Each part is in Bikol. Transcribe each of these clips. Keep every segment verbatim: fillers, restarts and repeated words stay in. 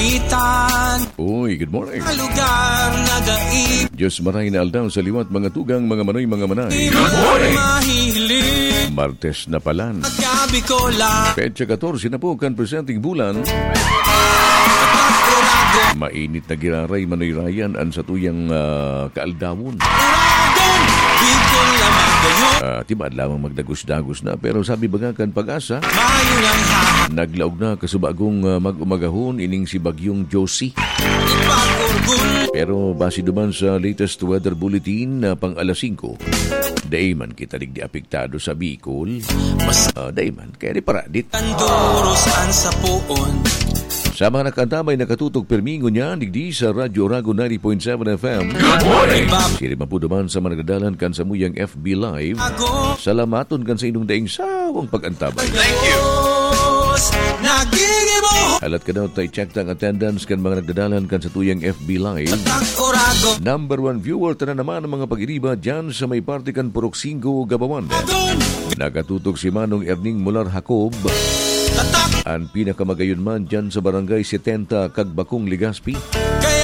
Itan. Uy, good morning. Lugar na dai. Diyos maray na aldaw sa liwat, mga tugang, mga manoy, mga manay. Good morning. Mahiling. Martes na palan. Gabi ko lang. Petsa katorse na po kan presenteng bulan. Mainit na giraray, Manoy Ryan, an satuyang, ah, kaaldawon. Uragon, Bicol lamang kayo. Ah, tibaad lamang magdagos-dagos na, pero sabi baga kan Pag-asa, Mayo lang ha. Naglaog na kasubagong, ah, mag-umagahon ining si Bagyong Josie. Ipag-urgul. Pero base duman sa latest weather bulletin na pang alas singko, dai man kita digdi apektado sa Bicol. Mas, ah, dai man. Kaya di paradit. Tanduros ang sapoon. Sa mga nakaantabay, nakatutok pirmi ngunyan digdi sa Radyo Oragon ninety point seven F M. Good morning. Siring man po duman sa mga nagdadalan kan samuyang F B Live. Ako. Salamaton kan sa inyong daing sawang pag-antabay. Thank you. Nagigimo. Halat ka daw, tayo check ang attendance kan mga nagdadalan kan sa tuyang F B Live. Ang Oragon. Number one viewer, tanan naman ang mga pag-iriba dyan sa may parte kan Purok Singgo, Gabawan. Nakatutok si Manong Erning Mular Jacob. Tatak. An pinakamagayon man dyan sa Barangay setenta, Kagbakong, Legazpi,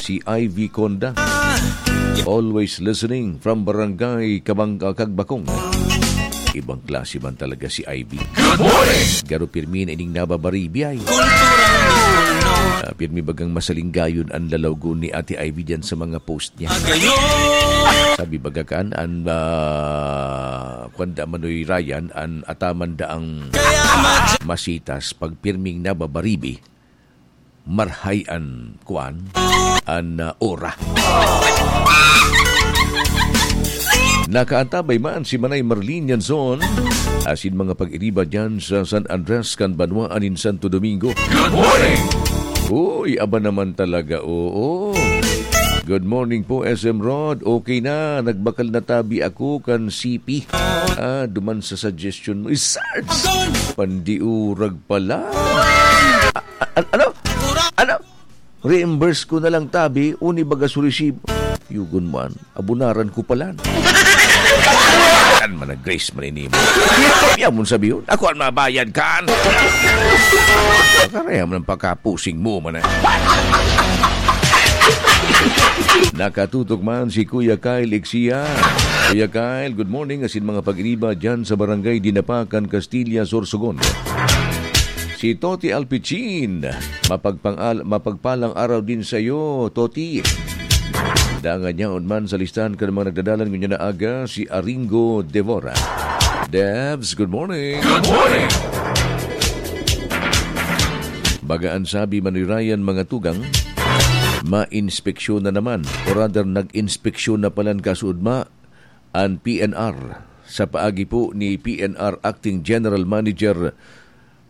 si Ivy Conda. Always listening from Barangay Kabang-, ah, Kagbakong. Ibang klase man talaga si Ivy. Good morning! Garo pirmi na ining nababaribi ay. Kulturang Bicolano. Ah, pirmi bagang masalinggayon an lalawgon ni Ate Ivy dyan sa mga post niya. Agayon! Sabi baga kan, an, ah, kwan da Manoy Ryan, an ataman daang Kaya madya- masitas, pag pirming nababaribi, marhay an kwan, an, ah, ora. Nakaantabay man si Manay Marlene Yanzon, asin mga pag-iriba dyan sa San Andres kan banwaan nin Santo Domingo. Good morning! Uy, aba naman talaga, oo. Good morning po, S M Rod. Okay na, nagbakal na tabi ako kan C P. Ah, duman sa suggestion mo. Isards! Pandiurag pala. A-, a-, ano? Ano? Reimburse ko na lang tabi, uni baga su resibo. Yugon man, abunaran ko palan. Kan man nag-grace man ini mo. Yaw mo sabi yun, ako ang mabayad kan. Pagkareha mo ng pagkapusing mo man eh. Nakatutok man si Kuya Kyle Iksia. Kuya Kyle, good morning. Asin mga pag-iriba dyan sa Barangay Dinapakan, Castilla, Sorsogon. Si Toti Alpichin, mapagpang-, mapagpalang araw din sa'yo, Toti. Dangan yaon man sa listahan kan mga nagdadalan ngunyan na aga, si Aringo Devora. Devs, good morning. Good morning. Baga an sabi, Manoy Ryan, mga tugang, mainspeksyon na naman, o rather, nag-inspeksyon na palan kasuodma an P N R sa paagi po ni P N R Acting General Manager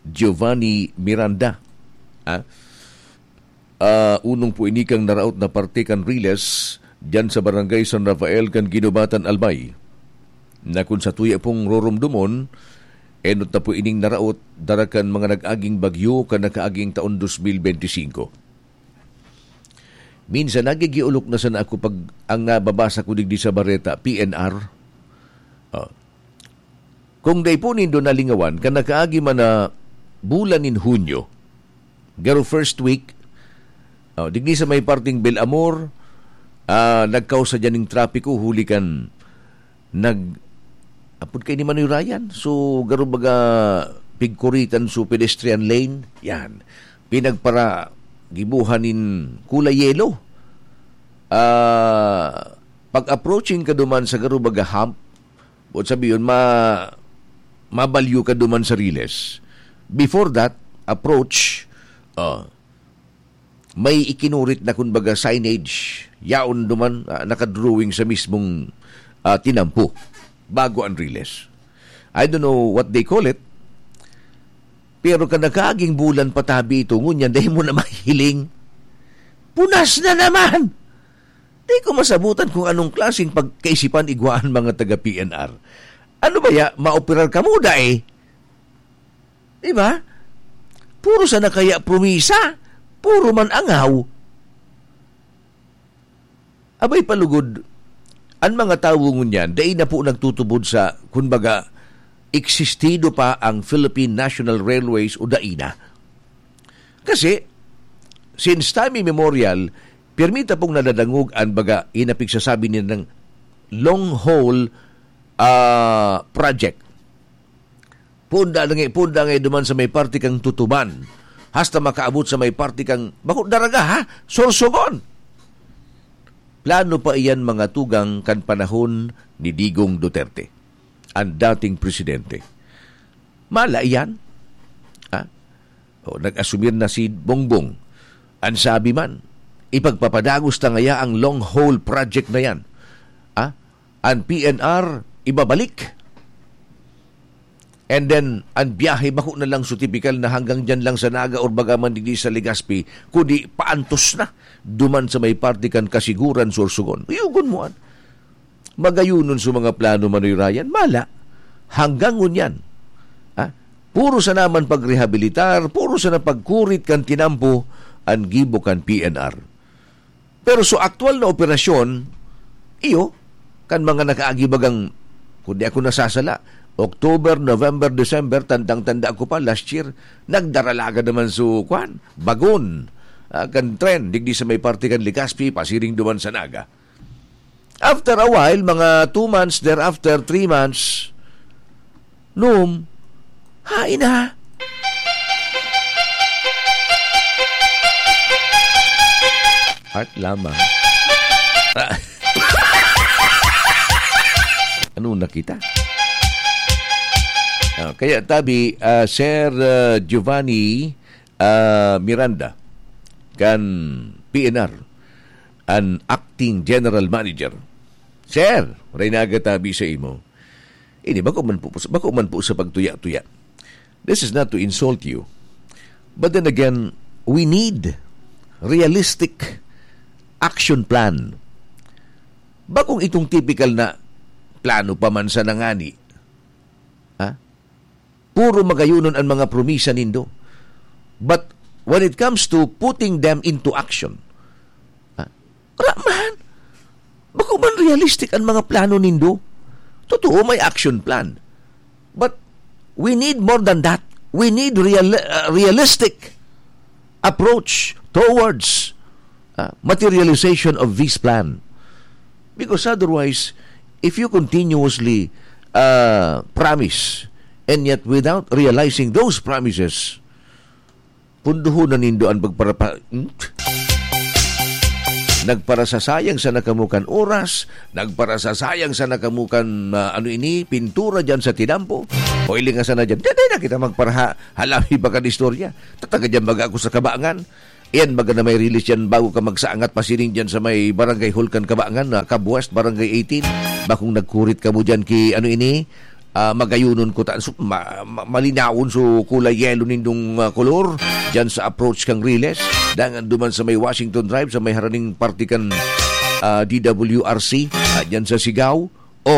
Giovanni Miranda. Ah, ah, unong po ini kan naraot na parte kan Riles, diyan sa Barangay San Rafael kan Guinobatan, Albay, na kun satuya pong roromdomon, enot na po ining naraot dara kan mga nag-aging bagyo kan nakaaging taon dos mil benti singko. Minsan, nagigiolok na sana ako pag ang nababasa ko digdi sa bareta, P N R. Ah. Kung dai po nindo nalingawan, kan nakaagi man na bulan nin Hunyo, garo first week, ah, digdi sa may parting Belamor, ah, nagkausa dyan ning trapiko huli kan nag-, apod kay ni Manoy Ryan. So, garo baga pigkuritan so pedestrian lane. Yan. Pinagpara-, gibuhan nin kulay yellow. Ah, pag-approaching ka duman sa garo baga hump, buot sabi yun, ma-, mabalyo ka duman sa Riles. Before that, approach, ah, may ikinurit na, kumbaga, signage. Yaon duman, ah, nakadrawing sa mismong, ah, tinampo. Bago ang Riles. I don't know what they call it. Pero kan nakaaging bulan patabi ito, ngunyan, dai mo na mahiling. Punas na naman! Di ko masabutan kung anong klaseng pagkaisipan igwa an mga taga P N R. Ano ba ya? Maoperar kamo, dai? Di ba? Puro sana kaya promisa, puro man angaw. Abay, palugod, an mga tawo ngunyan, dai na po nagtutubod sa, kumbaga, existido pa ang Philippine National Railways o dai na. Kasi, since time immemorial, pirmi ta pong nadadangog an baga, inapigsasabi nilang long haul, ah, project. Punda na nga, punda nga duman sa may parte kang Tutuban. Hasta makaabot sa may parte kang, bako Daraga, ha? Sorsogon. Plano pa iyan, mga tugang, kan panahon ni Digong Duterte, ang dating presidente. Mala iyan. Ha? O, nag-asumir na si Bongbong. Ang sabi man, ipagpapadagos ta ngaya ang long haul project na yan. Ha? Ang P N R, ibabalik. And then, ang biyahe bako na lang so tipikal na hanggang dyan lang sa Naga or baga man digdi sa Legazpi, kundi paantos na duman sa may parte kan Kasiguran, Sorsogon. Uyugon mo, an. Magayunon sa mga plano, Manoy Ryan, mala. Hanggang ngunyan. Ha? Puro sa naman pagrehabilitar, puro sa napagkurit kan tinampo, ang gibo kan P N R. Pero sa aktual na operasyon, iyo, kan mga nakaagi bagang, kung di ako nasasala, October, November, December, tandang-tanda ko pa, last year, nagdaralaga naman su, kwan, bagon, ah, kan tren, digdi sa may parte kan Legazpi, pasiring duman sa Naga. After a while, mga two months, thereafter, three months, Num, hain na. Heart lamang. Ano na kita? Ah, kaya tabi, ah, Sir, ah, Giovanni, ah, Miranda, kan P N R, an acting general manager. Sir, maray na aga tabi sa imo. Ini, bako man po, bako man po sa pagtuya-tuya. This is not to insult you. But then again, we need realistic action plan. Bakong itong typical na plano pa man sa nangani. Ha? Puro magayunon ang mga promisa nindo. But when it comes to putting them into action, ha? Wala man. Bako man realistic ang mga plano nindo. Totoo, may action plan. But we need more than that. We need real-, uh, realistic approach towards, uh, materialization of this plan. Because otherwise, if you continuously, uh, promise, and yet without realizing those promises, punduhon na nindo an pagparapa-, hmm? Nagparasasayang sana kamo kan oras, nagparasasayang sana kamo kan, ah, ano ini, pintura diyan sa tinampo. O ilinga sana diyan. Dai na kita magparaha-, halami baga kan istorya. Tataga diyan baga ako sa Kabangan. Iyan baga na may release diyan bago ka magsaangat pasiring diyan sa may Barangay Hall kan Kabangan, na Cab West, Barangay eighteen. Bakong nagkurit kamo diyan ki, ano ini, ah, magayunon ko ta-, su-, ma-, ma-, malinawon so kulay yelo nindong, ah, kolor diyan sa approach kang Riles. Dangan duman sa may Washington Drive, sa may haraning parte kan, ah, D W R C, ah, diyan sa Sigaw. O,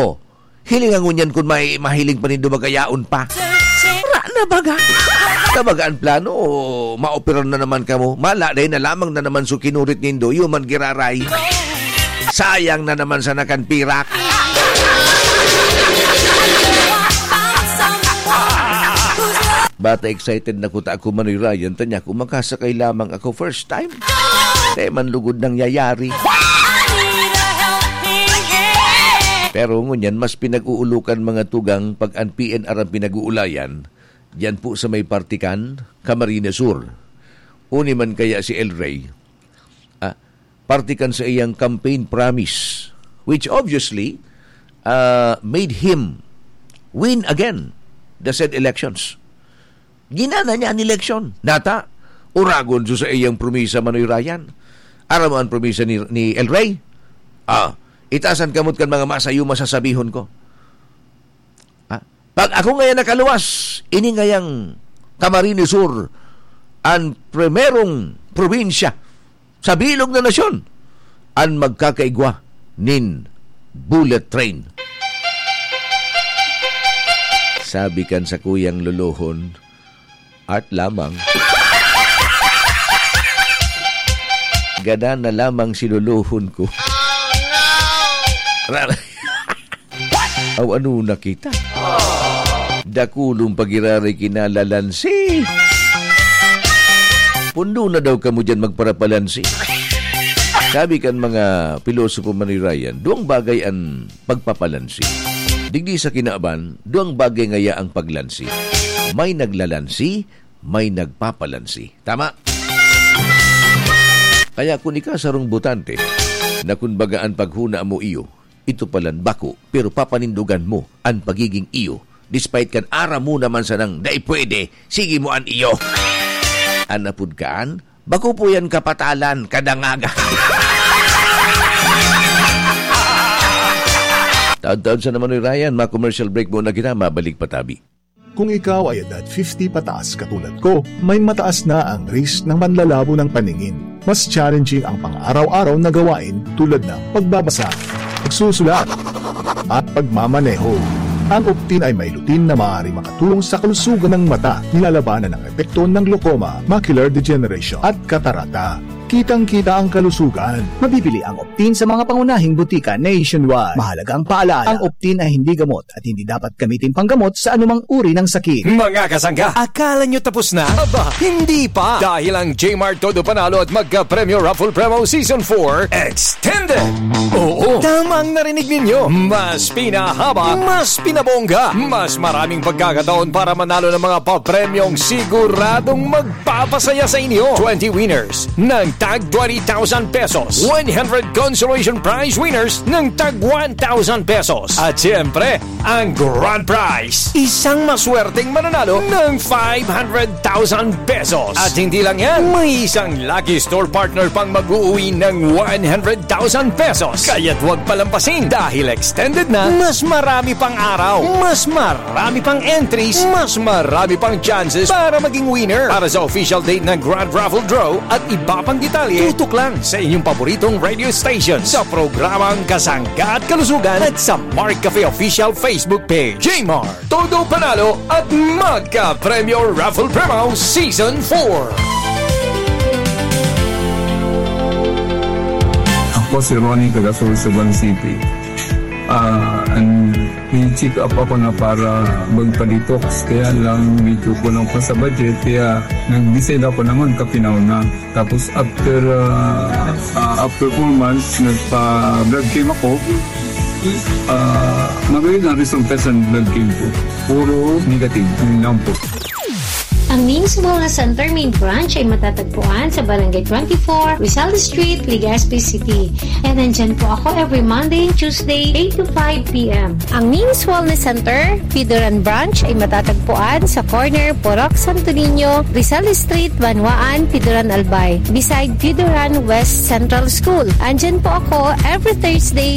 hilinga ngunyan kun may mahiling pa nindo magayaon pa. Wala na baga. Tabaga an plano, o maoperan na naman kamo. Mala, dai na lamang na naman so kinurit nindo, iyo man giraray. Sayang na naman sana kan pirak. Bata excited na kuta ako, Manoy Ryan. Tanya ko, makasakay lamang ako first time. Di man lugod nangyayari. Pero ngunyan, mas pinag-uulukan mga tugang pag an P N R ang pinag-uulayan. Diyan po sa may parte kan Camarines Sur. Uni man kaya si El Rey, ah, parte kan sa iyang campaign promise, which obviously, ah, made him win again the said elections. Ginana niya an eleksyon. Nata, uragon so sa iyang promisa, Manoy Ryan. Aram mo an promisa ni, ni El Rey? Ah, itaas an kamot kan mga masayo, masasabihon ko. Ah, pag ako ngayon nakaluwas, ini ngayang Camarines Sur, an primerong probinsya sa bilog na nasyon, an magkakaigwa nin bullet train. Sabi kan sakuyang lolohon, "Art lamang." Gada na lamang si lolohon ko. Ra-, Aw, ano na kita? Dakulong pagiraray kinalalansi. Pundo na daw kamo diyan magparapalansi. Sabi kan mga pilosopo, Manoy Ryan, duwang bagay an pagpapalansi. Digdi sa kinaban, duwang bagay ngaya ang paglansi. May naglalansi, may nagpapalansi. Tama? Kaya kun ika sarong botante, na kun baga an paghona mo iyo, ito palan bako, pero papanindogan mo an pagiging iyo. Despite kan aram mo naman sanang dai pwede, sige mo an iyo. An apod kaan, bako po yan kapatalan, kadangaga. Taod-taod sa naman ni Ryan, ma-commercial break muna kita, mabalik pa tabi. Kung ikaw ay edad fifty pataas katulad ko, may mataas na ang risk ng panlalabo ng paningin. Mas challenging ang pang-araw-araw na gawain tulad ng pagbabasa, pagsusulat, at pagmamaneho. Ang Optin ay may lutein na maaaring makatulong sa kalusugan ng mata, nilalabanan ang epekto ng glaucoma, macular degeneration, at katarata. Kitang-kita ang kalusugan. Mabibili ang Optin sa mga pangunahing butika nationwide. Mahalagang paalaala, ang Optin ay hindi gamot at hindi dapat gamitin panggamot sa anumang uri ng sakit. Mga kasangga, akala nyo tapos na? Aba, hindi pa! Dahil ang J-Mart Todo Panalo at Magka Premyo Raffle Promo Season four Extended! Oo, tama ang narinig ninyo! Mas pinahaba, mas pinabongga, mas maraming pagkakataon para manalo ng mga papremyong siguradong magpapasaya sa inyo. Twenty winners ng tag twenty thousand pesos, one hundred consolation prize winners ng tag one thousand pesos, at siyempre, ang grand prize, isang maswerteng mananalo ng five hundred thousand pesos. At hindi lang yan, may isang lucky store partner pang mag-uuwi ng one hundred thousand pesos. Kaya't huwag palampasin dahil extended na, mas marami pang araw, mas marami pang entries, mas marami pang chances para maging winner. Para sa official date ng Grand Raffle Draw at iba pang detalye, tutok lang sa inyong paboritong radio station sa programang Kasangga at Kalusugan at sa Mark Cafe Official Facebook page. J-Mart, Todo Panalo at Magka Premyo Raffle Promo Season four. Ako si Ronnie, taga Sorsogon City. Ah, an, may check up ako na para magpa-detox, kaya lang medyo kulang pa sa budget, kaya nag-decide ako na magkape na una. Tapos after, ah, ah, after four months, nagpa-blood chem ako. Ah, magayon ang resulta sa blood chem ko. Puro negative, yun lang po. Ang Ming's Wellness Center main branch ay matatagpuan sa Barangay twenty-four, Rizal Street, Legazpi City. And nandyan po ako every Monday and Tuesday, eight to five p.m. Ang Ming's Wellness Center, Pidoran Branch ay matatagpuan sa corner Purok Santo Niño, Rizal Street, Banwaan, Pidoran Albay, beside Pidoran West Central School. Andyan po ako every Thursday,